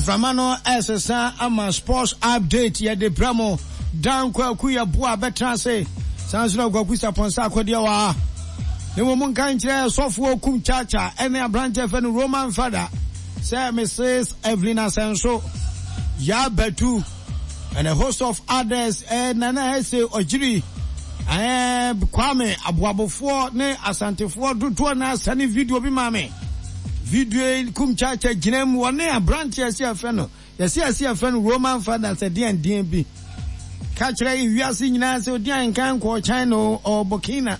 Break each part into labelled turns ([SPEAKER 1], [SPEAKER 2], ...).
[SPEAKER 1] Mframa no ɛresesa ama sports update yɛde brɛ mo. Dan Kwaku Yeboah bɛtena ase. Saa nso na Kwaku Sapon Sarkodie wɔ ha. Ne mmom nka nkyerɛ sɔfoɔ Kum Chacha ɛne aberanteɛ fɛ no Roman Fada sɛ Mrs. Evelyn Asɛnso, Yaa Batu and a host of others eh, Nana Ese Ɔgyiri, eh, Kwame Aboabofoɔ ne Asantefoɔ dodoɔ na asane video bi maa me. Video yi kum kyaakya gyina mu wɔne aberanteɛ ɛsɛ yɛfrɛ no yɛsɛ yɛsɛ yɛfrɛ no Roman father sɛ deɛn deɛn bi ka kyerɛ wiase nyinaa sɛ odi ahenkan nkɔɔ China o ɔwɔ Burkina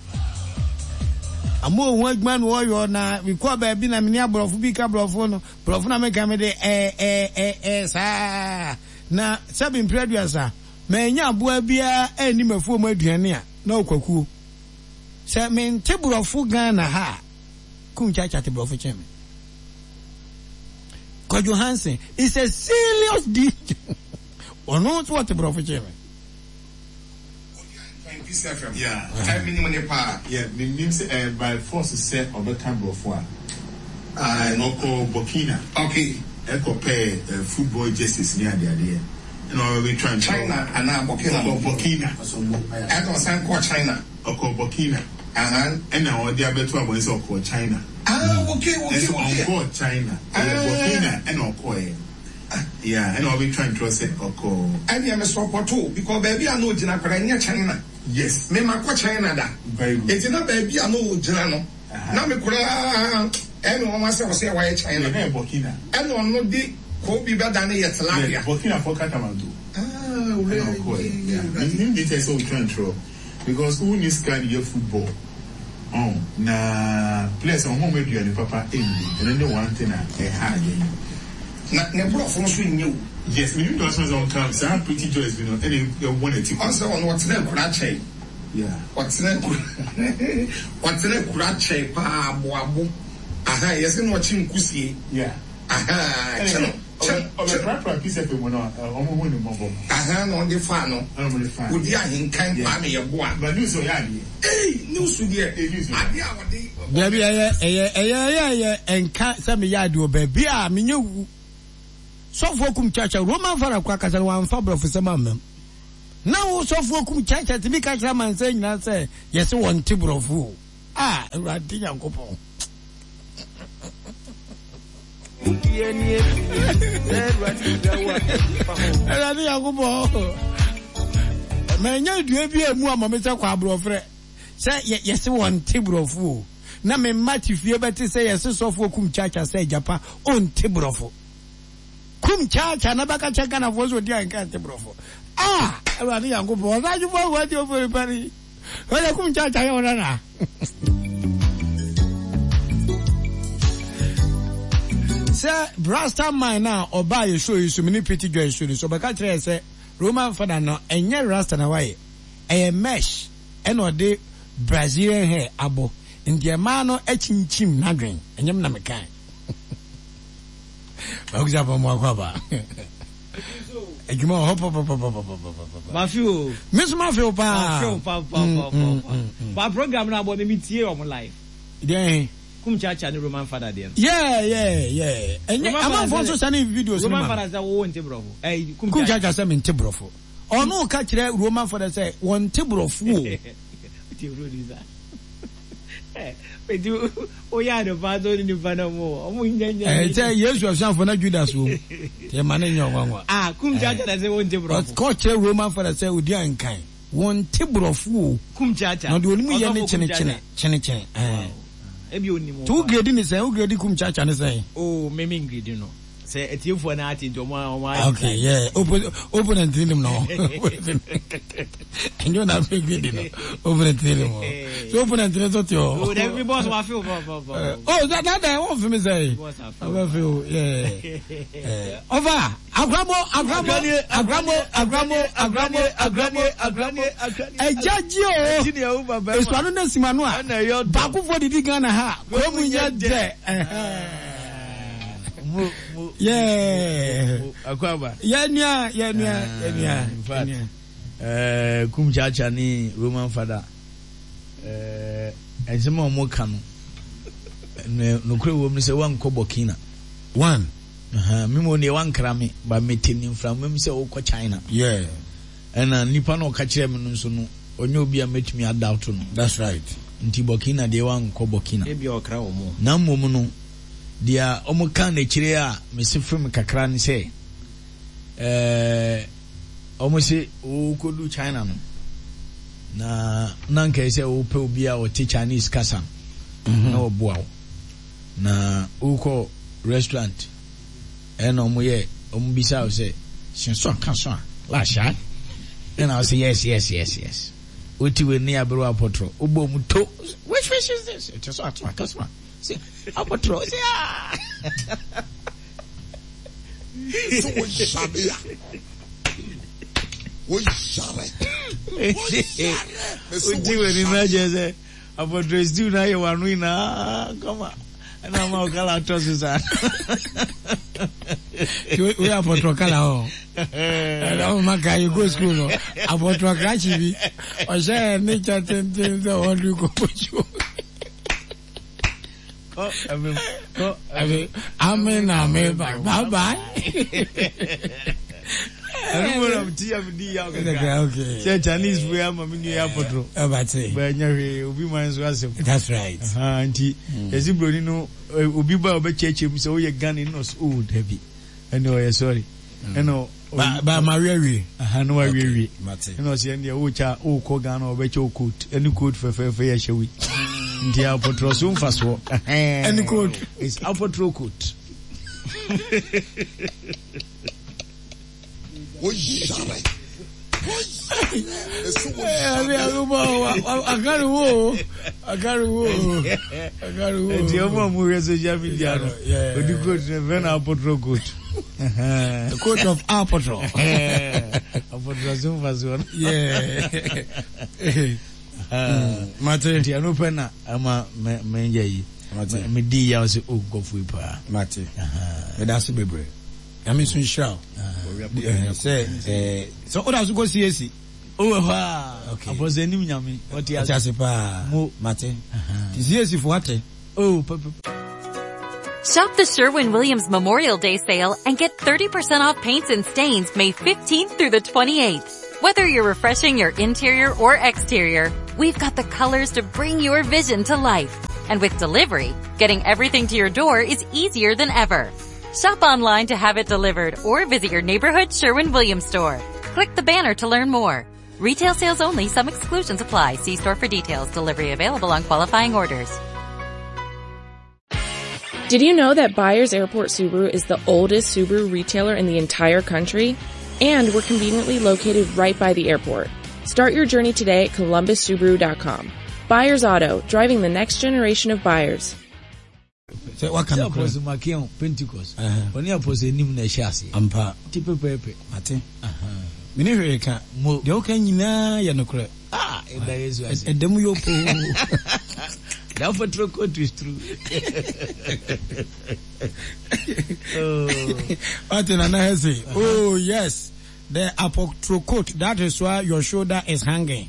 [SPEAKER 1] ama ohun adwuma na ɔyɔ na mekɔɔ baabi na mene aborɔfo bi ka borɔfo no borɔfo na meka mede ɛɛ ɛɛ ɛɛ ɛɛ saa na sɛbi mpere aduasa manya aboa biara anni m'afuo mu aduane a na ɔkwakuo sɛ mente borɔfo Ghana ha a Kum Chacha te brɔfo kyɛn me. Kwadwo Hansen is a serious DJ. Ɔno nso ɔte brɔfo kyɛn me.
[SPEAKER 2] Peace FM. Yeah. Ɛ minim ne paa.
[SPEAKER 3] Yeah, minim sɛ ɛyɛ by force sɛ ɔbɛka brɔfo a. Ɔkɔ Burkina.
[SPEAKER 2] Okay.
[SPEAKER 3] Ɛkɔ pɛɛ football jerseys ne adeadeɛ. Ɛna ɔbɛtwa nkyɛn.
[SPEAKER 2] China anaa Burkina?
[SPEAKER 3] Ɔkɔ Burkina.
[SPEAKER 2] Ɛna ɔsan kɔɔ China.
[SPEAKER 3] Ɔkɔɔ Burkina.
[SPEAKER 2] Ahan.
[SPEAKER 3] Ɛna ɔde abɛto abɔnten sɛ ɔkɔɔ China.
[SPEAKER 2] Ah, okay, okay,
[SPEAKER 3] Nanso
[SPEAKER 2] okay.
[SPEAKER 3] ɔnkɔɔ China. Ɛyɛ Burkina ɛna ɔkɔɔɛ. Yeah, ɛna ɔbɛtwa ntorɔ sɛ ɔkɔɔ.
[SPEAKER 2] Ɛneɛ me support wo because baabi a na ɔgyina koraa ɛnyɛ China.
[SPEAKER 3] Yes.
[SPEAKER 2] Me makɔ China da.
[SPEAKER 3] Very good.
[SPEAKER 2] Enti na baabi a na ɔgyina no, na me koraa ɛyɛ me nwanwa sɛ ɔsɛ wayɛ China.
[SPEAKER 3] Yeah, na ɛyɛ Burkina.
[SPEAKER 2] Ɛna ɔno de Kobe bɛdane yɛ tilapia.
[SPEAKER 3] Yeah, Burkina fɔ Katamanto.
[SPEAKER 2] Ah,
[SPEAKER 3] Ɛna ɔkɔɔɛ. Yeah, menim deɛ nti a ɛsɛ sɛ ɔtwa ntorɔ. Because wo nni sika de yɛ football ɔn na players no ɔmo mma aduane papa nni ɛno ne one thing a ɛha adwene.
[SPEAKER 2] Na ne brɔfo nso nyɛ o.
[SPEAKER 3] Yes menim deɛ ɔsoma sɛ ɔnka saa pretty joyce bi no ɛna ɛwɔ n'ati
[SPEAKER 2] kɔ. Ɔnsɛ ɔno ɔtena akura kyɛe.
[SPEAKER 3] Yeah.
[SPEAKER 2] Ɔtena akura ɔtena akura kyɛe paa aboabo ahaa yɛse na ɔkye nkusie.
[SPEAKER 3] Yeah.
[SPEAKER 2] Ahaa kye no.
[SPEAKER 3] Ɔbɛprapra Peace FM mu no ɔmo hu no mmɔbɔ.
[SPEAKER 2] Ahaa na ɔde faa no.
[SPEAKER 3] Ɛna ɔmo de faa no.
[SPEAKER 2] Odi ahenkan Kwame Yeboah.
[SPEAKER 3] But news ɔyɛ adeɛ.
[SPEAKER 2] Ei news deɛ adeɛ a ɔde.
[SPEAKER 1] Dabi ɛyɛ ɛyɛ ɛyɛ ɛyɛ ɛyɛ ɛnka sɛ meyɛ adeɛ wɔ baabi a menyɛ wu. Sɔfoɔ kum kyakya Roman fara kora kasa no wamfa borɔfosɛm ammam. Na wo sɔfoɔ kum kyakya tumi ka kyerɛ amansan nyinaa sɛ yɛse wɔnte borɔfo o. Ah Awurade Nyankopɔn. Awurade Nyankopɔn, manya dua bi a mu ama me sɛ kɔ aborɔfrɛ sɛ yɛse wɔnte borɔfo o na me mma te fie bɛte sɛ yɛse sɔfoɔ kum kyakya sɛ agyapa ɔnte borɔfo kum kyakya na bɛka kyɛ Ghanafoɔ sɛ ɔdi anka nte borɔfo ah Awurade Nyankopɔn ɔsadwofoɔ aguante ɔfori pari Ɔyɛ kum kyaakyaa yɛ ɔna na. Sɛ Rasta man na ɔbaa yɛ show yi so me ne Pretty Joy show ni so ɔbɛka kyerɛ yɛ sɛ Roman fada no ɛnyɛ Rasta na wayɛ ɛyɛ mesh ɛna ɔde Brazilian hair abɔ nti ɛmaa no akyinkyim n'adwen ɛnyɛ me na mekae. Bakusa pɔ mu akɔ aba. Adwuma wɔ hɔ pɔpɔpɔpɔpɔpɔpɔ.
[SPEAKER 4] Mafe o.
[SPEAKER 1] Me nso mafe o paa.
[SPEAKER 4] Mafe o papapapa. Ba program no abɔ me me tie wɔn live.
[SPEAKER 1] Deɛ he?
[SPEAKER 4] Kum Chacha ne Roman Fada deɛ no.
[SPEAKER 1] Yeah yeah yeah. Ɛnyɛ amanfoɔ nso sane videos no ma.
[SPEAKER 4] Roman Fada sɛ wo nte borɔfo. Ɛyi
[SPEAKER 1] Kum Chacha sɛ me nte borɔfo. Ɔno ka kyerɛ Roman Fada sɛ wɔn nte borɔfo o.
[SPEAKER 4] Tie producer. Eti woyɛ ade paa sɛ wone nipa no mo ɔmo nya nya.
[SPEAKER 1] Ɛɛ sɛ Yesu asuafo na Judas wom. Yɛ ma ne nyɛ ɔnwanwa.
[SPEAKER 4] Ah kum kyaakya na sɛ wɔn te borɔfo.
[SPEAKER 1] Ɔkɔ kyerɛ Roman fada sɛ odi ankan. Wɔn te borɔfo o.
[SPEAKER 4] Kum kyaakya.
[SPEAKER 1] Na ɔde onim yɛ ne kyene kyene kyene kyene.
[SPEAKER 4] Ɛɛ. Ebi onim
[SPEAKER 1] o. To wo grade ne sɛn? Wo grade kum kyaakya ne sɛn?
[SPEAKER 4] Oh me me ngrade no. Sɛ atiefoɔ no ate nti ɔmo ɔmo ayɛ.
[SPEAKER 1] Okay yeah opo opponent ni nim no. Ɛnyɛ na afei grade no opponent ni nim o. So opponent ni so te hɔ.
[SPEAKER 4] Oh dabi boss wa feel pa pa pa.
[SPEAKER 1] Oh that that that wɔn fi mi sɛ. Ɔbɛ fi o yeah. Ɔfa akramo akramo akramo akramo akramo akramo akramo ɛgya gyi o. Esuano na esimano a baako fo didi Ghana ha kurom nyɛ dɛ. Yɛnua yɛnua yɛnua.
[SPEAKER 5] In fact, eh, Kum Chacha ne Roman Fada eh, nsɛm a wɔka no nokorɛ wɔ mu sɛ woankɔ Burkina.
[SPEAKER 1] One.
[SPEAKER 5] Ahaa, me mmom deɛ wankra me, but mete ne mframa mu sɛ wokɔ China.
[SPEAKER 1] Yeah.
[SPEAKER 5] Ɛna nipa no a ɔka kyerɛɛ me no nso no, ɔnyɛ obi a mɛtumi a doubt no.
[SPEAKER 1] That's right.
[SPEAKER 5] Nti Burkina deɛ wankɔ Burkina.
[SPEAKER 6] Ebia ɔkra wɔn.
[SPEAKER 5] Na mmom no, deɛ wɔkaa no akyire a mese fem kakra ne sɛ, ɛɛ, wɔse wokɔdu China no, na na anka ɛsɛ sɛ wopɛ obi a ɔte Chinese kasa no na ɔboa wo. Na wokɔ restaurant ɛna ɔmo yɛ ɔmo bisa wo sɛ sensɔ ka so a la sha ɛna wo sɛ yes yes yes yes wote wei ne aberewa apɔtrɔ wobɔ ɔmo to which fish is this ɛte so ato aka so a sɛ apɔtrɔ sɛ ah
[SPEAKER 2] sɛ woyare a woyare woyare
[SPEAKER 5] wote wei ne na kyerɛ sɛ Apɔtrɛ stew no ayɛ w'ano nyinaa kama ɛna ama wo kala atɔ so saa.
[SPEAKER 1] Wei apɔtrɔ kala hɔ. Ɛna ɔmo ma ka yɛ go school no apɔtrɔ krakye bi ɔhyɛ ne kyɛ tenten sɛ ɔde kɔ pɔtwo. Ame na me ba bye bye.
[SPEAKER 5] Ɛno mu na ti ya mi di yaw kakra. Sɛ Chinese fo ya ma mi nua ya pɔtɔrɔ.
[SPEAKER 1] Ɛbate.
[SPEAKER 5] Bɛ nya hwee obi man nso asɛm.
[SPEAKER 1] That's right.
[SPEAKER 5] Nti yɛsi broni no obi ba ɔbɛ kyerɛkyerɛ mu sɛ woyɛ Ghana ni na ɔsɛ oh dabi ɛna ɔyɛ sorry ɛna
[SPEAKER 1] Ba ba ma wie wie.
[SPEAKER 5] Aha no wa wie wie. Ɛna ɔsɛ ɛndeɛ wo kya wo kɔ Ghana ɔbɛkyɛ wo coat ɛne coat fɛfɛɛfɛ yɛ hyɛ wi. Nti apɔtrɔ so mfasoɔ.
[SPEAKER 1] Ɛne coat.
[SPEAKER 5] It's apɔtrɔ coat.
[SPEAKER 2] Wo yare. Wo yare. Mese wo yare.
[SPEAKER 1] Akari wo. Akari wo. Akari wo.
[SPEAKER 5] Nti ɔmo a ɔmo hwɛ social media no. Odi coat no fɛ na apɔtrɔ coat.
[SPEAKER 1] The coat of apɔtrɔ.
[SPEAKER 5] Apɔtrɔ so mfasoɔ no.
[SPEAKER 1] Yeah. Mate.
[SPEAKER 5] Nti ɛno pɛ na ama mɛnyɛ yi.
[SPEAKER 1] Mate.
[SPEAKER 5] Medi yaw sɛ o nkɔfo yi paa.
[SPEAKER 1] Mate. Meda ase bebree. Nyame nso nhyira wo. Sɛ sɛ woda so kɔ CAC.
[SPEAKER 5] Wowɔ hɔ a.
[SPEAKER 1] Okay.
[SPEAKER 5] Apɔsɛ anim Nyame. Ɔte ase.
[SPEAKER 1] Ɔte ase paa.
[SPEAKER 5] Mo.
[SPEAKER 1] Mate. Ti CAC fo ate.
[SPEAKER 5] Oh, pɛpɛ.
[SPEAKER 7] Shop the Sherwin-Williams Memorial Day sale and get 30% off paints and stains May 15th through the 28th. Whether you're refreshing your interior or exterior, we've got the colors to bring your vision to life. And with delivery, getting everything to your door is easier than ever. Shop online to have it delivered or visit your neighborhood Sherwin-Williams store. Click the banner to learn more. Retail sales only, some exclusions apply. See store for details. Delivery available on qualifying orders.
[SPEAKER 8] Did you know that Byers Airport Subaru is the oldest Subaru retailer in the entire country? And we're conveniently located right by the airport. Start your journey today at columbussubaru.com. Byers Auto, driving the next generation of buyers.
[SPEAKER 1] Sɛ waka
[SPEAKER 5] Sɛ
[SPEAKER 1] nokorɛ.
[SPEAKER 5] Apostle Makeon, Pentecost,
[SPEAKER 1] Ɛhɛn.
[SPEAKER 5] ɔne Apostle Anim na ɛhyɛ aseɛ.
[SPEAKER 1] Ampa.
[SPEAKER 5] Nti pɛpɛɛpɛ.
[SPEAKER 1] Mate.
[SPEAKER 5] Ahaa.
[SPEAKER 1] Menni hwee ka.
[SPEAKER 5] Mo.
[SPEAKER 1] Deɛ woka nyinaa yɛ nokorɛ.
[SPEAKER 5] Ah, yɛda Yesu ase.
[SPEAKER 1] Ɛda mu yɔ poo.
[SPEAKER 5] That for quote is true. oh.
[SPEAKER 1] Wate Nana Hesse, oh yes, the apotrocoat, that is why your shoulder is hanging.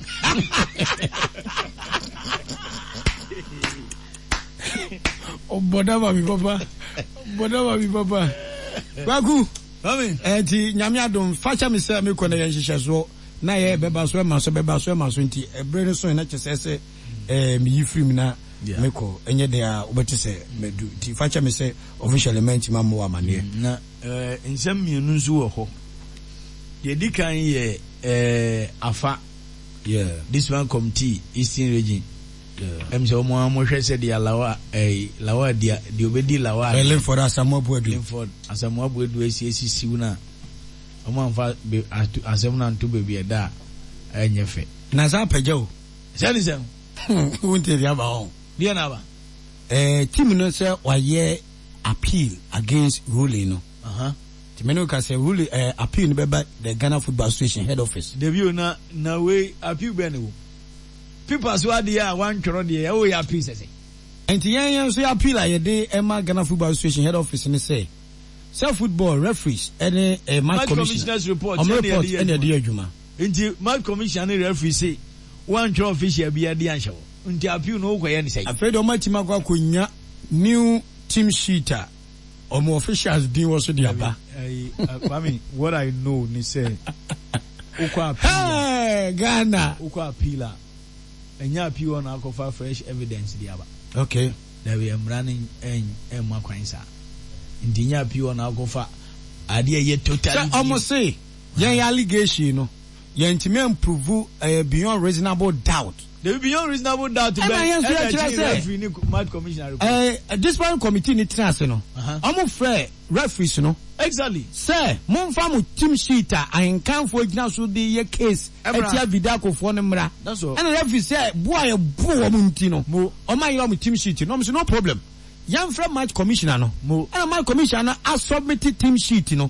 [SPEAKER 1] Ɔbɔ dama mi papa, ɔbɔ dama mi papa. Kwaku, ɛnti nyame adom, fakyɛ me sɛ mekɔ na yɛ nhyehyɛsoɔ na yɛ bɛba so ɛma so bɛba so ɛma so nti ɛberɛ no so na kyɛ sɛ sɛ ɛɛ meyi firi mu na mekɔ ɛnyɛ den a wobɛte sɛ madu nti fakyɛ me sɛ officially mantumi ammɔ wo amaneɛ.
[SPEAKER 5] Na ɛɛ nsɛm mmienu nso wɔ hɔ. Deɛ ɛdi kan yɛ ɛɛ afa.
[SPEAKER 1] Yeah.
[SPEAKER 5] This one committee Eastern region. Yeah. Ɛm sɛ wɔn a wɔhwɛ sɛ deɛ lawa ɛɛ lawa deɛ deɛ obedi lawa.
[SPEAKER 1] Ɛɛ Linford Asamoah Boadu.
[SPEAKER 5] Linford Asamoah Boadu esi esisiw na wɔn anfa be ato asɛm no anto baabi ɛda a ɛnyɛ fɛ.
[SPEAKER 1] Na saa apagya o.
[SPEAKER 5] Sɛ ne sɛn.
[SPEAKER 1] Wonte deɛ aba hɔ.
[SPEAKER 5] Deɛ na aba.
[SPEAKER 1] Ɛɛ team no sɛ wayɛ appeal against ruling no.
[SPEAKER 5] Uh -huh.
[SPEAKER 1] Nti me ne wo ka sɛ ruling ɛɛ appeal no bɛba the Ghana Football Association head office.
[SPEAKER 5] Dabi o na na wei appeal bɛn ne wo paper so adeɛ a wantwerɛ deɛ ɛwɔ yɛ appeal sɛ sɛ.
[SPEAKER 1] Nti yɛn yɛn nso yɛ appeal a yɛde ɛma Ghana Football Association head office ne sɛ sɛ football referees ɛne ɛɛ match
[SPEAKER 5] Match
[SPEAKER 1] commissioner
[SPEAKER 5] commissioners report
[SPEAKER 1] ɔmo
[SPEAKER 5] ɛne
[SPEAKER 1] report
[SPEAKER 5] yɛde yɛ
[SPEAKER 1] ɛne yɛde
[SPEAKER 5] adwuma.
[SPEAKER 1] yɛ adwuma.
[SPEAKER 5] Nti match commissioner ne referee se wantwerɛ official biara de anhyɛ hɔ nti appeal no wokɔyɛ ne sɛn?
[SPEAKER 1] Afei deɛ ɔmo atumi akɔ akɔnya new team sheet a. ɔmo officials din wɔ so de aba.
[SPEAKER 5] Kwame, what I know ni sɛ wokɔ appeal
[SPEAKER 1] a. Ghana.
[SPEAKER 5] Wokɔ appeal a, ɛnyɛ appeal hɔ na akɔfa fresh evidence de aba.
[SPEAKER 1] Okay.
[SPEAKER 5] Dabi, mmara no ɛmma kwan saa. Nti ɛnyɛ appeal hɔ na akɔfa adeɛ ɛyɛ totally.
[SPEAKER 1] Sɛ ɔmo se yɛn allegation no yɛntumi amprove ɛyɛ beyond reasonable doubt.
[SPEAKER 5] Dabi beyond reasonable doubt bɛn
[SPEAKER 1] ɛna yɛn nso yɛkyerɛ sɛ
[SPEAKER 5] referee ne match commissioner report.
[SPEAKER 1] Ɛɛ disciplinary committee ni tena ase no ɔmo frɛ referees no.
[SPEAKER 5] Exactly.
[SPEAKER 1] Sɛ monfa mo team sheet a ahenkanfoɔ gyina so de yɛ case ɛtia Vidakofoɔ no mmra.
[SPEAKER 5] That's all.
[SPEAKER 1] Ɛna referee sɛ bo a yɛbo wɔn nti no ɔmo ayera wɔn team sheet no ɔmo sɛ no problem yɛnfrɛ match commissioner no. Ɛna match commissioner no asubmit team sheet no.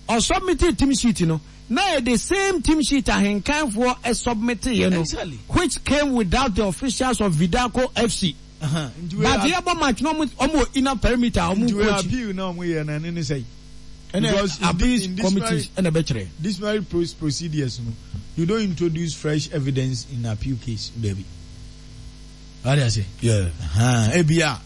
[SPEAKER 1] Ɔsubmit team sheet no. Na ɛyɛ the same team sheet ahenkanfoɔ submiteeɛ no which came without the officials of Vidaco FC. But yɛbɔ match no ɔmo wɔ inner perimeter a ɔmo
[SPEAKER 5] Nti wei
[SPEAKER 1] coach.
[SPEAKER 5] appeal na ɔmo yɛ no ɛno ne sɛn?
[SPEAKER 1] Ɛna
[SPEAKER 5] Because in
[SPEAKER 1] appeals
[SPEAKER 5] in
[SPEAKER 1] committee ɛna ɛbɛkyerɛ.
[SPEAKER 5] Disciplinary procedures no, you don't introduce fresh evidence in appeal case, dabi. Wate ase?
[SPEAKER 1] Yeah.
[SPEAKER 5] Ahaa, ebia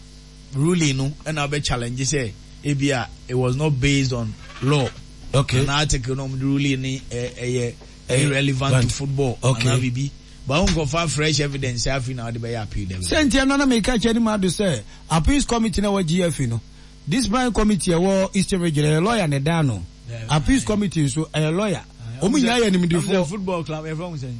[SPEAKER 5] ruling no ɛna wobɛ challenge sɛ ebia it was not based on law.
[SPEAKER 1] Okay.
[SPEAKER 5] Ana article no ɔmo de ruling no ɛyɛ irrelevant to football.
[SPEAKER 1] Okay.
[SPEAKER 5] Ana bibi. But wo nkɔfa fresh evidence sɛ afei na wode bɛyɛ appeal dabi.
[SPEAKER 1] Sɛ nti ɛno na meka kyerɛ Anim Addo sɛ appeals committee na ɛwɔ GFA no, disciplinary committee ɛwɔ Eastern region ɛyɛ lawyer na ɛda ano. Appeals committee nso ɛyɛ lawyer. Wɔn nyinaa yɛ animdefoɔ.
[SPEAKER 5] Football club yɛfrɛ wɔn sɛn?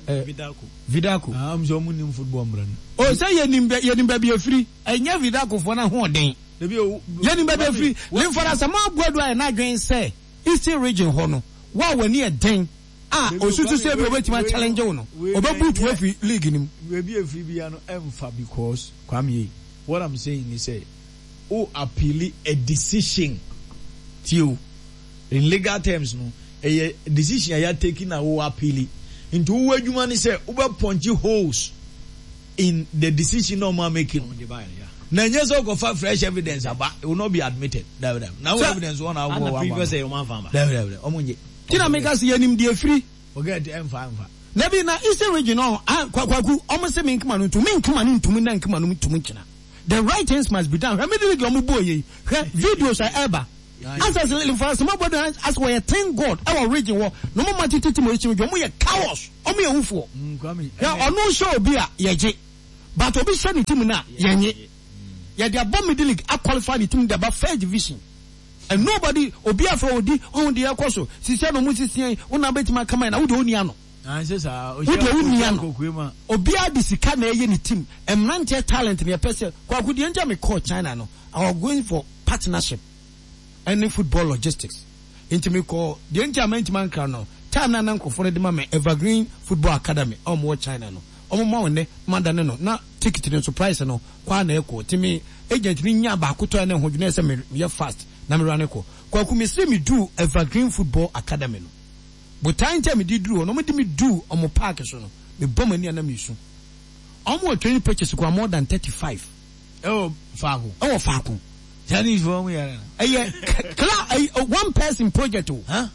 [SPEAKER 1] Vidaco. Vidaco.
[SPEAKER 5] Ah, sɛ ɔmo nim football mmara no.
[SPEAKER 1] O sɛ yɛnim yɛnim baabi efiri. Ɛnyɛ Vidaco foɔ no ahoɔden. Yɛnim baabi efiri. Limford Asamoah Boadu ayɛ n'adwene sɛ Eastern region hɔ no, wo a w'ani yɛ den a osusu sɛ ebi obetumi achallenge wo no, ɔbɛbutu wo afiri league no mu.
[SPEAKER 5] Baabi efiri bia no ɛnfa because Kwame ei, what I'm saying ni sɛ wo appeal a decision tie o. In legal terms no, ɛyɛ decision a yɛatake na wo appeal. Nti wo adwuma ne sɛ wobɛ punch holes in the decision na ɔmo amake no. Na ɛnyɛ sɛ wokɔfa fresh evidence aba, it will not be admitted. Dabi dabi. Na wo evidence wɔ na wokɔ wɔ aba. Dabi dabi, ɔmo nye.
[SPEAKER 1] Ti na meka sɛ yɛnim deɛ ɛfiri.
[SPEAKER 5] Forget ɛmfa ɛmfa.
[SPEAKER 1] Dabi na Eastern region no ah Kwaku ɔmo se menkema no ntom menkema no ntom nnɛ nkema no ntom nkyena the right things must be done hwɛ middle league ɔmo bɔɔ yei hwɛ videos a ɛba. Asɛ sɛ Mfrasema bɔ dan asɛ wɔyɛ thank God ɛwɔ region hɔ na ɔmo ma tete team ɛhyɛ mu ɔmo yɛ cowards ɔmo yɛ wufoɔ hwɛ ɔno hyɛ obi a yɛgye but obi hyɛ ne team no a yɛnye yɛde abɔ middle league a qualify ne team de aba first division and nobody obi afɛ odi ɔho deɛ ɛkɔ so sisi na ɔmo sisi yɛn wo na bɛtumi akama yɛn na wo deɛ ɔni ano wo deɛ wo ni ano obiara de sika na ɛyɛ ne team mmeranteɛ talent na yɛpɛ sɛ kwaku deɛ nti a mekɔɔ China no I was going for partnership ɛne football logistics nti me kɔɔ deɛ nti a mantumi ankra no time no a na nkorɔfoɔ no de ma me Evergreen football academy a wɔn wɔ China no wɔn ma wo nnɛ ma dane no na ticket no nso price no kɔ a na ɛkɔ nti me agent no nyaa baako tɔɛ na ɛho dwene sɛ me yɛ fast na me rane kɔ Kwaku me se me duu Evergreen football academy no botae nti a me de duru hɔ no wɔn de me duu wɔn park so no me bɔ m'ani a na me su wɔn wɔ training pitches koraa more than 35
[SPEAKER 5] Ɛwɔ faako.
[SPEAKER 1] Ɛwɔ faako.
[SPEAKER 5] Chinese fo wɔn yɛrɛ no.
[SPEAKER 1] Ɛyɛ kla ɛyɛ one person project o.
[SPEAKER 5] Huh?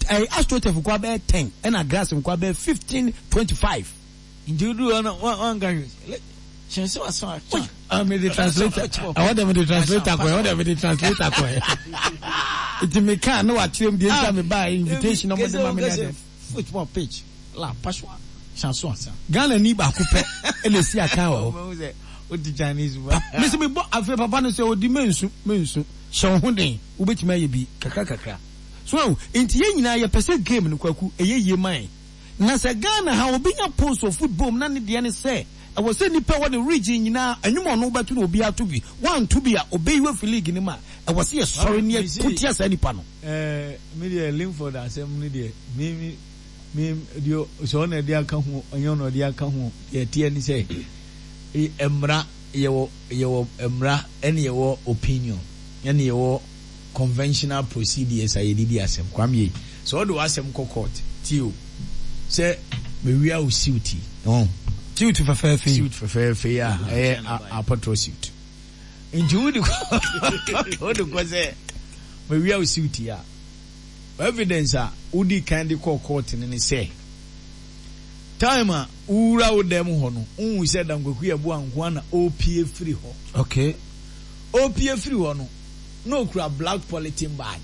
[SPEAKER 1] Ɛyɛ astroturf nko abɛyɛ 10 ɛna grass nko abɛyɛ 15 25.
[SPEAKER 5] Nti odu hɔ no wɔn wɔn nka hwɛ. Hyɛn sɛ waso atwa.
[SPEAKER 1] Ah, me de translator. Ɛwɔ dɛ me de translator kɔ. Ɛwɔ dɛ me de translator kɔ. Nti me kan na wakyerɛ mu deɛ nti a me ba invitation na wɔn de ma me na de.
[SPEAKER 5] Football pitch. La paswa chanson asa.
[SPEAKER 1] Ghana ni baako pɛ ɛna esi akan wɔ
[SPEAKER 5] hɔ. Odi Chinese mu.
[SPEAKER 1] Mesi mi bɔ afei papa no sɛ odi mensu mensu hyɛ wo ho den wobɛtumi ayɛ bi kakra kakra. So ahu nti yɛn nyinaa yɛpɛ sɛ game no kwaku ɛyɛ yie ma yɛn. Na sɛ Ghana ha obi nya post wɔ football mu na ne deɛ ne sɛ ɛwɔ sɛ nipa ɛwɔ ne region nyinaa ɛnwom a ɔno wobɛto no obiara to bi wanto bi a ɔbɛyi wo afiri league no mu a ɛwɔ sɛ yɛsɔre ne yɛko tia saa nipa no.
[SPEAKER 5] Ɛɛ me deɛ Linford asɛm no deɛ me me me deɛ sɛ ɔna ɛde aka ho ɔnyɛ ɔna ɔde aka ho deɛ ɛteɛ ne sɛ mmara yɛwɔ yɛwɔ mmara ɛne yɛwɔ opinion ɛne yɛwɔ conventional procedures a yɛde di asɛm Kwame yei sɛ ɔde w'asɛm kɔ court tie o sɛ mewia wo suit yi ɔn
[SPEAKER 1] suit fɛfɛɛfɛ yi
[SPEAKER 5] suit fɛfɛɛfɛ yi a ɛyɛ apɔtrɔ suit nti wode kɔ wode kɔ sɛ mewia wo suit yi a evidence a wodii kan de kɔɔ court no ne sɛ time a wowura wo dɛm hɔ no wohu sɛ Dankwaku Yeboah nko ara na ɔrepue firi hɔ.
[SPEAKER 1] Okay.
[SPEAKER 5] Ɔrepue firi hɔ no, na ɔkura black polythene bag.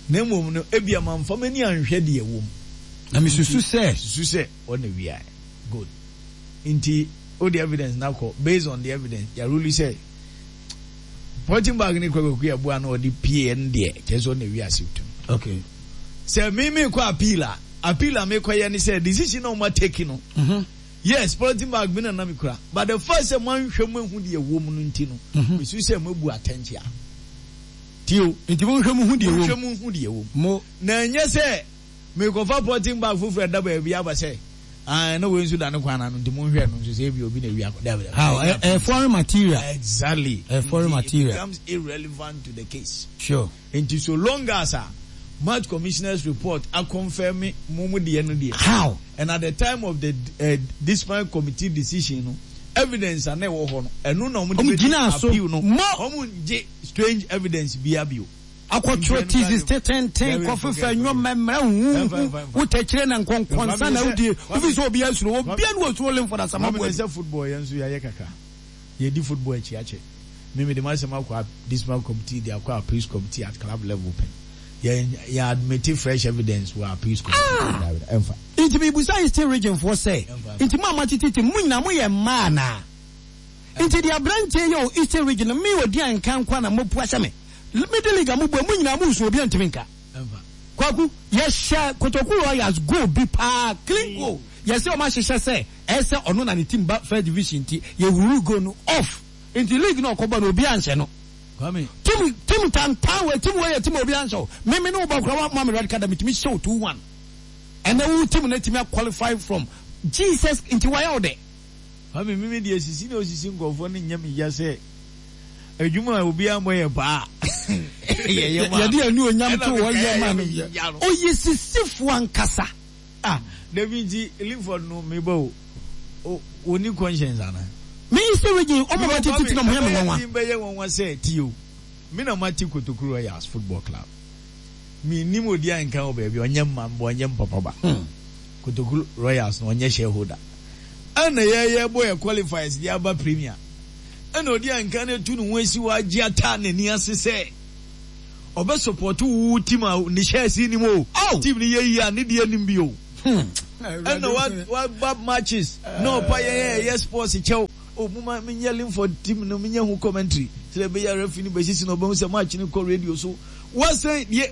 [SPEAKER 5] Na mmom no, ebia mamfa m'ani anhwɛ deɛ ɛwɔ mu.
[SPEAKER 1] Na mesusu sɛ.
[SPEAKER 5] Susu sɛ ɔno na wiaɛ. Good. Nti wode evidence no akɔ, based on the evidence, yɛaruli sɛ polythene bag no kura Kwaku Yeboah na ɔde pieɛ no deɛ, kyerɛ sɛ ɔno na wia suit no.
[SPEAKER 1] Okay.
[SPEAKER 5] Sɛ me mekɔ appeal a, appeal a mekɔyɛ ne sɛ decision a wɔn atake no, Yes, polythene bag bi na na mekura, but the fact sɛ moanhwɛ mu ahu deɛ ɛwɔ mu no nti no, mesu sɛ moabu atɛnkyea. Tie o.
[SPEAKER 1] Nti monhwɛ mu hu deɛ ɛwɔ mu.
[SPEAKER 5] Monhwɛ mu hu deɛ ɛwɔ mu.
[SPEAKER 1] Mo.
[SPEAKER 5] Na ɛnyɛ sɛ merekɔfa polythene bag foforɔ a ɛda baabi aba sɛ, ah, na wei nso da ne kwan ano nti monhwɛ ɛno nso sɛ ebia obi na awia akɔ. Dabi, dabi.
[SPEAKER 1] How?
[SPEAKER 5] Ɛnyɛ
[SPEAKER 1] Ɛyɛ foreign material.
[SPEAKER 5] Exactly.
[SPEAKER 1] Ɛyɛ foreign
[SPEAKER 5] Nti it
[SPEAKER 1] material.
[SPEAKER 5] becomes irrelevant to the case.
[SPEAKER 1] Sure.
[SPEAKER 5] Nti so long as a match commissioner's report akɔnfɛme mo mo deɛ no deɛ.
[SPEAKER 1] How?
[SPEAKER 5] And at the time of the eh, disciplinary committee decision no, evidence a na ɛwɔ hɔ no, ɛno na wɔn de
[SPEAKER 1] Wɔn
[SPEAKER 5] bɛdi
[SPEAKER 1] gyinaa so.
[SPEAKER 5] appeal no.
[SPEAKER 1] Mo!
[SPEAKER 5] Wɔn ngye strange evidence biara bio.
[SPEAKER 1] Akɔtwerɛ thesis tententen, kɔfefa nnwoma, mmara huhuhu, wo tɛkyerɛ na nkɔnkɔnsa na wodie, wofi sɛ obiara suro, obiara ne osuro Lemford Asamoah
[SPEAKER 5] Kwame
[SPEAKER 1] Boadu.
[SPEAKER 5] sɛ football yɛn nso yɛayɛ kakra. Yɛdi football akyi akyɛ. Me mede m'asɛm akɔ disciplinary committee de akɔ appeals committee at club level pɛn. Yɛn yɛn admit fresh evidence wɔ appeals committee.
[SPEAKER 1] Ah!
[SPEAKER 5] Dabi da, ɛmfa.
[SPEAKER 1] Nti mebusa Eastern Region foɔ sɛ,
[SPEAKER 5] Ɛmfa, ɛmfa.
[SPEAKER 1] nti mo a moatete team, mo nyinaa moyɛ mmaa anaa? Nti deɛ aberanteɛ yɛ wɔ Eastern Region no, me Odian nka nkoa na moapu ahyɛ me. Middle League a mobɔ yi, mo nyinaa moresu obiara ntumi nka.
[SPEAKER 5] Ɛmfa.
[SPEAKER 1] Kwaku, yɛhyɛ Kotoku Royals goal bi paa, clean goal. Yɛse wɔn ahyehyɛ sɛ ɛsɛ ɔno na ne team ba first division nti, yɛhuruu goal no off. Nti league no a ɔkɔbɔ no obiara nhyɛ no.
[SPEAKER 5] Kwame.
[SPEAKER 1] Team team tantan wei team wei yɛ team a obiara nhyɛ wo. Me me ne wo bɔ koraa woamma me red card a metumi hyɛ wo 2-1. Ɛnɛ wo team no atumi a qualify from Jesus nti wayɛ wo dɛ.
[SPEAKER 5] Kwame me me deɛ sisi na osisi nkurɔfoɔ no nyɛ me ya sɛ adwuma a obiara mmɔ yɛ paa yɛyɛ maa
[SPEAKER 1] Yɛde anuonyam
[SPEAKER 5] ɛna
[SPEAKER 1] to hɔ
[SPEAKER 5] mekae
[SPEAKER 1] yɛ
[SPEAKER 5] a
[SPEAKER 1] maa
[SPEAKER 5] ɛyɛ
[SPEAKER 1] no.
[SPEAKER 5] me ya no.
[SPEAKER 1] Ɔyɛ sisifoɔ ankasa.
[SPEAKER 5] Ah dabi nti Linford no meba o o ɔnni conscience anaa?
[SPEAKER 1] Me Eastern region ɔmo
[SPEAKER 5] Because
[SPEAKER 1] ma tete
[SPEAKER 5] Kwame
[SPEAKER 1] na ɔmo yɛ me
[SPEAKER 5] ɛbɛyɛ
[SPEAKER 1] nwanwa.
[SPEAKER 5] den bɛyɛ nwanwa sɛ tie o me na mate Kotoku Royals football club mennim odi a nka wɔ baabi ɔnyɛ mma mba ɔnyɛ mpapa ba Kotoku Royals no ɔnyɛ shareholder ɛna yɛyɛ bɔ yɛ qualifiers de aba premier ɛna odi a nka no atu ne ho asi hɔ agye ataa n'ani ase sɛ ɔbɛ support wo team a ne shares nim o
[SPEAKER 1] Oh!
[SPEAKER 5] team no yɛ yie a ne deɛ nim bi o ɛna wa waba matches na ɔpa yɛn a ɛyɛ sports kyɛw o mo ma menyɛ Linford team no menyɛ ho commentary sɛ ɛbɛyɛ referee no bɛsisi na ɔbɛhu sɛ match no kɔ radio so wasan deɛ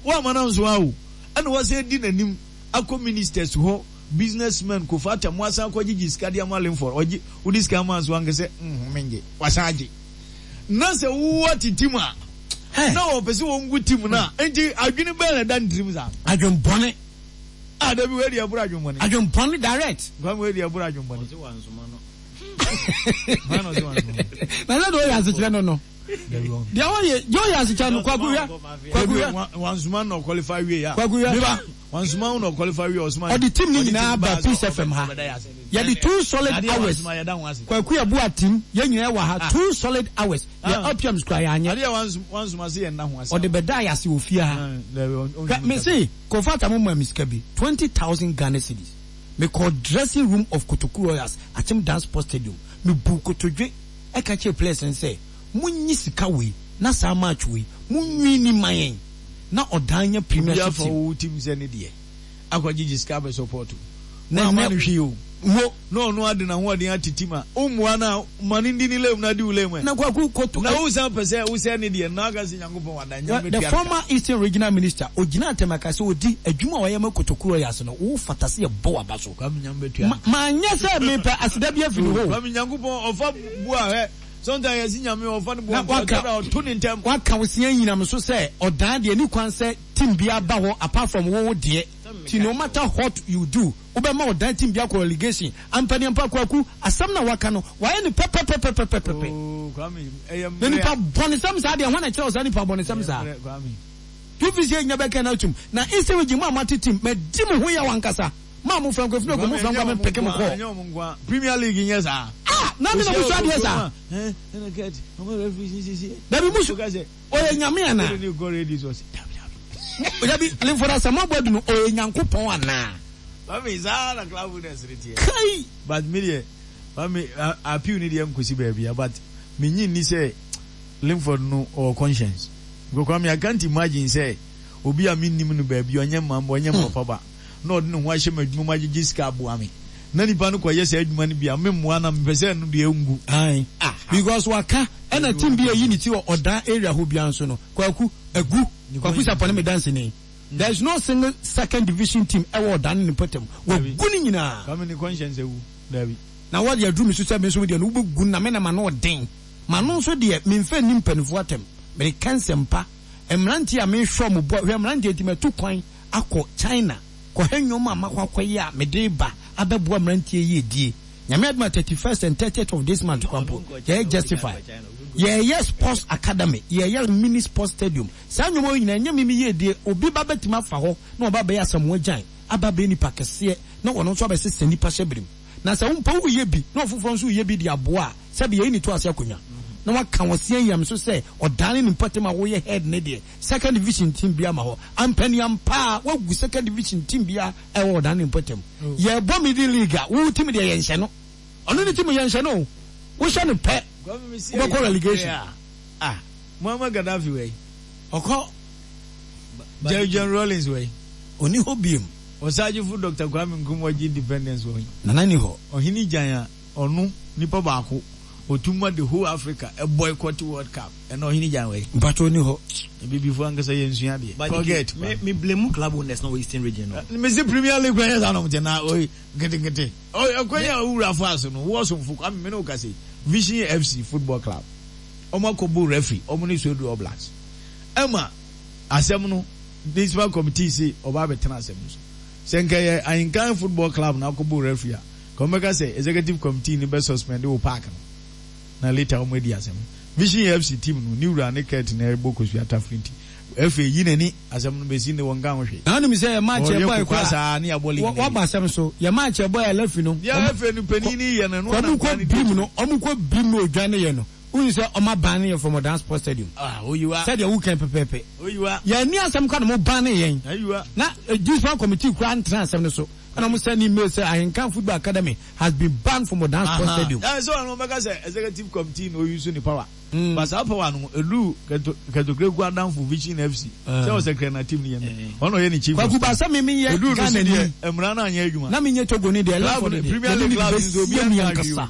[SPEAKER 5] wama no nso a o ɛna wasan di n'anim akɔ ministers hɔ businessmen kofa ata mo asan akɔgyegye sika de ama Linford ɔgye wode sika ama nso anka sɛ nhome ngye wasan agye na sɛ wowɔ te team a na wɔpɛ sɛ wɔngu team no a nti adwene bɛn na ɛda ne tirim saa
[SPEAKER 1] Adwen bɔne.
[SPEAKER 5] Ah dabi wei deɛ ɛboro adwen bɔne.
[SPEAKER 1] Adwen bɔne direct.
[SPEAKER 5] Kwame wei deɛ ɛboro adwen bɔne.
[SPEAKER 4] Ɔse wansoma no.
[SPEAKER 5] Hwan na ɔse wansoma no?
[SPEAKER 1] Na sɛ deɛ ɔyɛ asekyerɛ no no. Deɛ ɔyɛ deɛ ɔyɛ asekyerɛ no Kwaku hwɛ. Kwaku hwɛ.
[SPEAKER 5] Wansoma no na ɔqualify wie ya.
[SPEAKER 1] Kwaku hwɛ.
[SPEAKER 5] Meba wansoma no na ɔqualify wie ɔsoma.
[SPEAKER 1] Ɔde team no nyinaa ba Peace FM ha. Yɛde two solid hours. Kwaku Yeboah team yɛn nyinaa wɔ ha two solid hours. Yɛ OPMs kura yɛ anyɛ.
[SPEAKER 5] Adeɛ wansoma se yɛn nna ho ase.
[SPEAKER 1] Ɔde bɛda yɛ ase wɔ fie ha. Hwɛ me se Kofi mo maa me sika bi 20,000 Ghana cedis. Me kɔɔ dressing room of Kotoku Royals Akyem Dance Sports Stadium. Me buu kotodwe ɛka kyerɛɛ players no sɛ mo nyi sika wei na saa match wei mo nwini ma yɛn na ɔdan nya premiership
[SPEAKER 5] Obi afa
[SPEAKER 1] team.
[SPEAKER 5] wo team sɛ ne deɛ akɔ gyegye sika abɛ support wo.
[SPEAKER 1] Na
[SPEAKER 5] Woamma
[SPEAKER 1] ɛnɛ
[SPEAKER 5] no hwee o.
[SPEAKER 1] mo.
[SPEAKER 5] Na ɔno ade n'ahoɔden ate team a wo mmoa no a ma no ndi ne lane mu na di wo lane mu ɛ.
[SPEAKER 1] Na Kwaku koto.
[SPEAKER 5] Na wo san pɛ sɛ wo sɛe ne deɛ no na aka sɛ Nyankopɔn wada nyame
[SPEAKER 1] The
[SPEAKER 5] bɛtua no ka.
[SPEAKER 1] former Eastern Regional Minister ogyinaa ntɛm aka sɛ odi adwuma a wayɛ ma Kotoku Royals no wo fata sɛ yɛbɔ w'aba so.
[SPEAKER 5] Kwame Nyame bɛtua no ka.
[SPEAKER 1] Manyɛ sɛ mepɛ aseda bi afiri ne hɔ o.
[SPEAKER 5] Kwame Nyankopɔn ɔfa bu a hwɛ sometimes yɛse Nyame ɔfa ne bo
[SPEAKER 1] Na
[SPEAKER 5] ɔfa
[SPEAKER 1] waka
[SPEAKER 5] ɔtɔ da ɔto ne ntɛm.
[SPEAKER 1] Waka wo sea nyinam so sɛ ɔdan deɛ ɛni kwan sɛ team biara ba hɔ apart from wo wo deɛ nti no matter what you do wobɛma ɔdan team bi akɔ relegation ampa ni ampa Kwaku asɛm no a waka no wayɛ no pɛpɛpɛpɛpɛpɛ
[SPEAKER 5] Oh Kwame ɛyɛ
[SPEAKER 1] na
[SPEAKER 5] mmerɛ
[SPEAKER 1] nipa
[SPEAKER 5] a.
[SPEAKER 1] bɔnesɛm saa deɛ hwan na ɛkyerɛ wo saa nipa bɔnesɛm
[SPEAKER 5] Ɛyɛ
[SPEAKER 1] saa
[SPEAKER 5] mmerɛ Kwame.
[SPEAKER 1] Tu fi sɛ nya bɛka no atum na Eastern region mo a moate team madi mo ho yaw ankasa mo a mo fra nkwa firi ɔkɔ mo
[SPEAKER 5] Kwame
[SPEAKER 1] fra
[SPEAKER 5] ɛnyɛ
[SPEAKER 1] nkwa me
[SPEAKER 5] wɔn
[SPEAKER 1] mpeke mo
[SPEAKER 5] nko a
[SPEAKER 1] kɔɔ
[SPEAKER 5] ɛnyɛ wɔn nko a Premier League nyɛ saa.
[SPEAKER 1] Ah na me na
[SPEAKER 5] Ohyia
[SPEAKER 1] mo sua
[SPEAKER 5] wɔ
[SPEAKER 1] adeɛ
[SPEAKER 5] kurom
[SPEAKER 1] saa
[SPEAKER 5] a ɛn ɛna kɛt ɔmo referee sisi.
[SPEAKER 1] Dabi mo su
[SPEAKER 5] Woka sɛ
[SPEAKER 1] ɔyɛ nyame anaa.
[SPEAKER 5] Wode ne kɔ radio so ɔse dabi dabi.
[SPEAKER 1] Dabi Linford Asamoah Boadu no ɔyɛ Nyankopɔn anaa.
[SPEAKER 5] Kwame saa na club winners no teɛ.
[SPEAKER 1] Kai!
[SPEAKER 5] But me deɛ Kwame appeal no deɛ nkosi baabia but me nyi nni sɛ. Linford no ɔwɔ conscience. Because Kwame I can't imagine sɛ obi a mennim no baabi, ɔnyɛ mma mma, ɔnyɛ me papa ba, na ɔde ne ho ahyɛ m'adwuma mu agyegye sika aboa me, na nipa no kɔyɛ saa adwuma no bi a, memmoa no a, mepɛ sɛ ɛno deɛ ɛngu.
[SPEAKER 1] Ae because waka ɛna team bi a ɛyi ne ti wɔ ɔdan area hɔ biara nso no Kwaku agu, Kwaku Sarpong ne me danseni. There is no single second division team ɛwɔ ɔdan ne ne mpɔtam. Wagu ne nyinaa.
[SPEAKER 5] Kwame ne conscience awu. Dabi.
[SPEAKER 1] Na wɔde aduru me so sɛ me nso me deɛ no wobɛgu no na me na m'ano ɔden. M'ano nso deɛ memfa nni mpanimfoɔ atɛm. Mereka nsɛmpa. Mmeranteɛ a mehwɛ wɔn bɔ, hwɛ mmeranteɛ nti matu kwan akɔ China kɔhwɛ nneɛma a makɔ akɔyɛ a mede reba abɛboa mmeranteɛ yi adie. Nyame adom a 31st and 30th of this month koraa mpo yɛyɛ justify. Yɛreyɛ sports academy, yɛreyɛ mini sports stadium. Saa nneɛma wei nyinaa ɛnyɛ me me yiedie. Obi ba bɛtumi afa hɔ na waba abɛyɛ Asamoah Gyan, aba abɛyɛ nipa kɛseɛ na ɔno nso abɛsesa nnipa hyɛberem. Na sɛ wo mpo woreyɛ bi na ɔfoforɔ nso reyɛ bi de aboa a, sɛbe yɛyi ne to ase akonnwa na waka wɔ seɛ so sɛ ɔdane ne mpɔtam a woyɛ head no deɛ second division team biara ma hɔ. Ampaniampa ara woagu second division team biara a ɛwɔ ɔdane ne mpɔtam. Yɛrebɔ middle league a, wo team deɛ yɛnhyɛ no. Ɔno ne team yɛnhyɛ no o. Wohyɛ no pɛ, wobɛkɔ relegation.
[SPEAKER 5] Ah, Muammar Gaddafi wei, ɔkɔ Jerry John Rawlings wei.
[SPEAKER 1] Ɔni hɔ biom.
[SPEAKER 5] Ɔsagyefo Doctor Kwame Nkrumah ɔgye independence wɔ he?
[SPEAKER 1] Nana ni hɔ.
[SPEAKER 5] Ɔhene Gyan a ɔno nipa baako ɔtum ma the whole Africa boycott World Cup ɛnɛ Ɔhene Gyan wɔ he?
[SPEAKER 1] Mpakyɛ ɔni hɔ.
[SPEAKER 5] Abibifo ankasa yɛ nsua adeɛ.
[SPEAKER 6] But
[SPEAKER 5] Forget.
[SPEAKER 6] Nti me me blame club owners na wɔ Eastern region no.
[SPEAKER 5] Mese Premier League kwan yɛ saa na ɔmo te na oi nketenkete. Oi ɛkwan yi a owura faa so no wo ɔsomfo Kwame me ne wo kasa yi Vision FC football club ɔmo akɔ bo referee ɔmo ne Swedru All Blacks ɛma asɛm no Municipal committee se ɔba abɛtena asɛm no so. Sɛ nka ɛyɛ Ahenkan football club na akɔbɔ referee a, nka wɔbɛka sɛ executive committee no bɛ suspend wo park no na later wɔn adi asɛm no. Vision FC team no ne wura ne Kurt na ɛrebɔ kosua tafere nti FA yi n'ani asɛm no bɛsi nnɛ wɔnka ho hwee.
[SPEAKER 1] Na wonim sɛ yɛ match
[SPEAKER 5] Wɔyɛ
[SPEAKER 1] ɛbɔe
[SPEAKER 5] kokoa
[SPEAKER 1] koraa
[SPEAKER 5] saa ne yɛabɔ league no
[SPEAKER 1] wabɔ
[SPEAKER 5] awie.
[SPEAKER 1] asɛm so yɛ match ɛbɔe a Lafi no
[SPEAKER 5] Deɛ FA no panin no yɛ no ɛno ara na
[SPEAKER 1] wɔn
[SPEAKER 5] nkoa
[SPEAKER 1] kɔ
[SPEAKER 5] no di
[SPEAKER 1] brim
[SPEAKER 5] akyire.
[SPEAKER 1] no wɔn kɔ brim no odwane yɛ no Wohu sɛ ɔma ban no yɛ from Odan Sports Stadium.
[SPEAKER 5] Ah, oyiwa.
[SPEAKER 1] Sɛdeɛ woka yi pɛpɛɛpɛ.
[SPEAKER 5] Oyiwa.
[SPEAKER 1] Yɛanni asɛm koraa na mo ban yɛn.
[SPEAKER 5] Ayiwa.
[SPEAKER 1] Na Discipline Committee koraa ntena asɛm no so. Ɛna wɔn send email sɛ Ahenkan Football Academy has been banned from Odan Sports Stadium.
[SPEAKER 5] Ɛɛ sɛ wɔn bɛka sɛ executive committee na oyi so ne power. But saa power no eduru Kɛtɔkreku adamfo Vision FC sɛ ɔsɛ na team no yɛ no. Ɔno ɔyɛ ne chief of
[SPEAKER 1] Kwaku
[SPEAKER 5] staff.
[SPEAKER 1] Ba sɛ me menyɛ
[SPEAKER 5] Eduru no so
[SPEAKER 1] Ghana
[SPEAKER 5] deɛ
[SPEAKER 1] ni.
[SPEAKER 5] mmara no anyɛ adwuma.
[SPEAKER 1] Na menyɛ Togo ni deɛ
[SPEAKER 5] Club
[SPEAKER 1] Lafɔ
[SPEAKER 5] no
[SPEAKER 1] no deɛ
[SPEAKER 5] Premier
[SPEAKER 1] yɛde
[SPEAKER 5] League
[SPEAKER 1] ne
[SPEAKER 5] club nso
[SPEAKER 1] bɛsie
[SPEAKER 5] obiara
[SPEAKER 1] me
[SPEAKER 5] nka hwee
[SPEAKER 1] ankasa.
[SPEAKER 5] o.